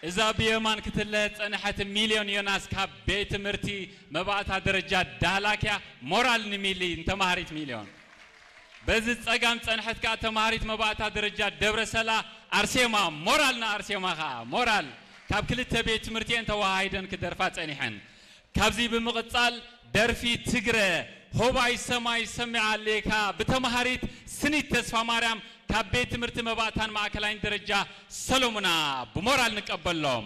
እዛ ብየማን ክትለ ጸንሐት ሚልዮን ዮናስ ካብ ቤት ትምህርቲ መባእታ ደረጃ ዳህላክያ። ሞራል ንሚሊ ንተማሃሪት ሚልዮን። በዚ ጸጋም ጸንሐት ከኣ ተማሃሪት መባእታ ደረጃ ደብረ ሰላ ኣርሴማ። ሞራል ንኣርሴማ ከኣ ሞራል። ካብ ክልተ ቤት ትምህርቲ እየን ተወሃሂደን ክደርፋ ጸኒሐን። ካብዚ ብምቕጻል ደርፊ ትግረ ሆባይ ሰማይ ሰሚዓ ኣሌካ ብተማሃሪት ስኒት ተስፋ ማርያም ካብ ቤት ትምህርቲ መባእታን ማእከላይን ደረጃ ሰሎሙና ብሞራል ንቀበሎም።